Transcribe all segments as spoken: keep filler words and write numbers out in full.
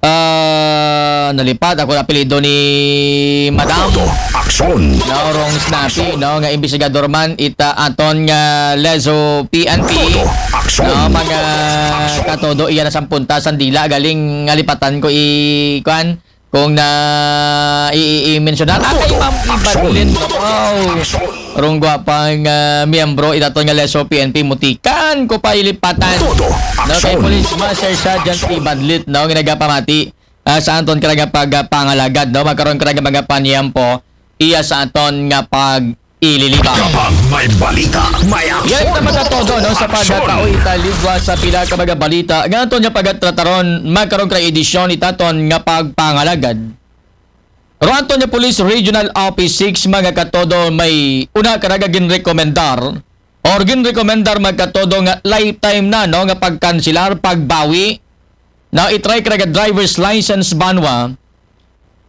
ah, nalipat ako apelyido ni Madam. Todo aksyon. No, rong Snappy, no, nga imbestigador man ita aton nga Lezo P N P. Todo aksyon. No, mga katodo, iya na sampunta sandila galing ngalipatan ko i kwan kung na i, i, i mensionar. Ah, kay Ma'am Ibadlit. Wow. Rong gwapang ah, miyembro itaton nga Lezo P N P, mutikan ko pa ilipatan. Todo No, kay aksyon. Police Master Sergeant Ibadlit, no, nga nagapamati ah, sa aton kara nga pagpangalagad, no, magkaroon kara nga mga panyempo iya sa aton nga pag ililiba. Kapag may balita, may Yan aksyon. naman sa todo, no, sa Aksyon. pagkatao italigwa sa pila ka mga balita nga aton nga pagtratar ron, magkaroon kara edisyon itaton nga pagpangalagad. Ro aton nga Police Regional Office six, mga katodo, may una kara nga ginrekomendar or ginrekomendar, mga katodo, nga lifetime na, no, nga pagkansilar, pagbawi na i-try kara nga driver's license banwa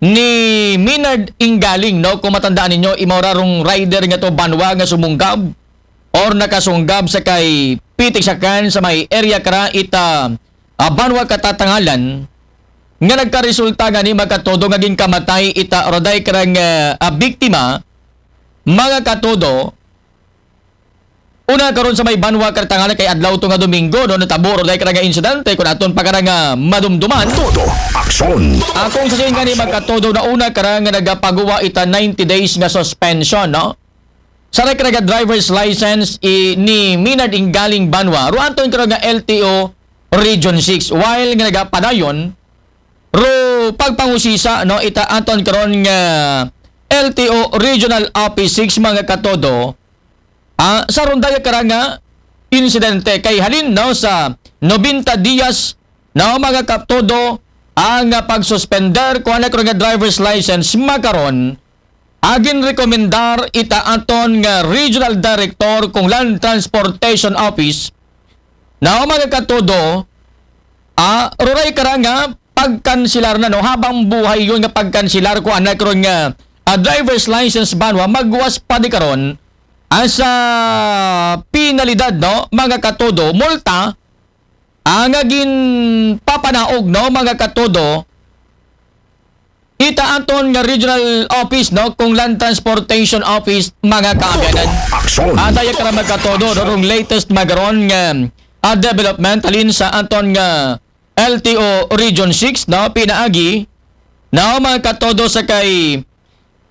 ni Minard Inggaling, no? Kung matandaan ninyo, imaw ra rong rider nga to banwa nga sumunggab or nakasunggab sa kay Pitik Sakan sa may area kara ita ah, banwa Katatangalan nga nagkaresulta gani, mga katodo, nga ginkamatay ita roday kara nga ah, biktima, mga katodo. Una karon sa may banwa Katatangalan kay adlaw to nga Domingo, no, natabo roday kara nga insidente kung aton pa kara nga madumduman. Todo aksyon. Akong sa gani, mga katodo, na una kara nga nagapaguwa ita ninety days nga suspension, no? Sa record nga driver's license i, ni Minard Inggaling banwa, ro aton karon nga L T O Region six, while nga nagapadayon ro pagpangusisa, no, ita aton karon nga L T O Regional Office six, mga katodo, ah, sa rondaya kara nga insidente kay halin, no, sa nobenta dias, no, mga katodo, ang ah, pagsuspender ko anak nga driver's license makaron, agin rekomendar ita aton nga regional director kung land transportation office, na mga katodo, ah, roray kara nga pagkansilar na, no, habang buhay yon nga pagkansilar ko anak ron nga ah, driver's license banwa, magwas pa di karon ah, sa penalidad, no, mga katodo, multa, ang agin papanaog, no, mga katodo, ita aton nga regional office, no, kung land transportation office, mga kaabyanan. Aksyon. Adaya kara, mga katodo, no, rong latest makaron nga ah, development halin sa aton nga L T O Region six, no, pinaagi, no, mga katodo, sa kay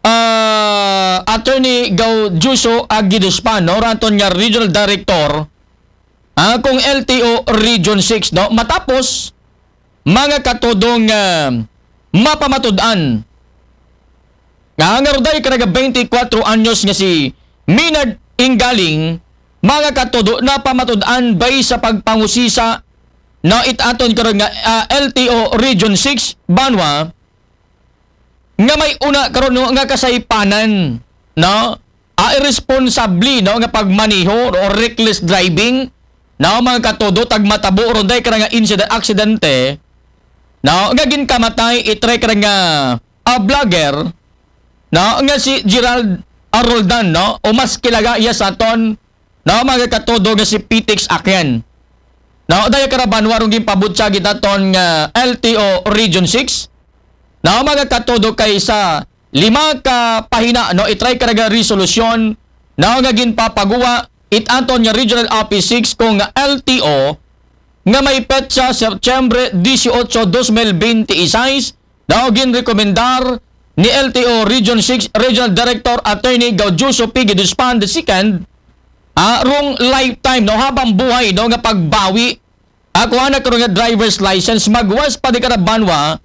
ah, Attorney Gaudiuso Agiduspan, no, raton nga regional director ah, kung L T O Region six, no, matapos, mga katodo, nga mapamatud-an nga nga roday kara nga twenty-four anyos nga si Minard Inggaling, mga katodo, napamatud-an bay sa pagpangusisa, no, it aton karon nga ah, L T O Region six banwa, nga may una karon, no, nga kasaypanan, no, ah, irresponsable, no, nga pagmaneho o reckless driving, no, mga katodo, tag matabo ron day kara nga incident, aksidente, no, nga ginkamatay itray kara nga ah, vlogger, no, nga si Gerald Aroldan, no, o mas kilaga iya sa aton, no, mga katodo, nga si Pitix Akyan. No, daya kara banwa rong ginpabutyag itaton nga L T O Region six, no, mga katodo, kay sa lima ka pahina, no, itray kara nga resolusyon, no, nga ginpapaguwa it aton nga Regional Office six kung nga L T O nga may petsa Setyembre dieciocho, dos mil veintiséis, daw ginrekomendar ni L T O Region six Regional Director Attorney Gaudioso P. Giduspan the second, ah, rong lifetime, no, habang buhay, no, nga pagbawi, ah, kuha na karon nga driver's license, magwas pa di kara banwa,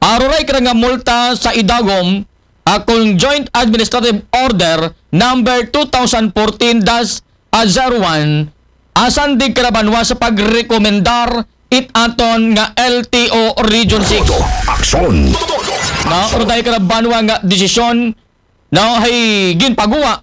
ah, roray kara nga multa sa idagom, ah, kung Joint Administrative Order number two thousand fourteen dash zero one, asan di kara banwa sa pagrekomendar it aton nga L T O Region six. Aksyon. No, roday kara banwa nga desisyon, no, hay ginpaguwa,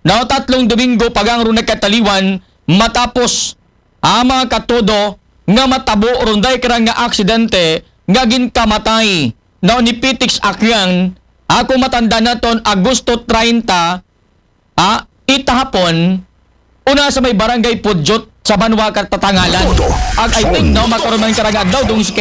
no, tatlong Domingo pa gang ron nagkataliwan matapos ang mga katodo nga matabo ron day kara nga aksidente nga ginkamatay, no, ni Pitix Akyan, ako matanda naton, Agosto treinta, ah, itahapon, una sa may barangay Pudyot sa banwa Katatangalan. Ag I think, no, makaroon man kara nga adlaw dong si kay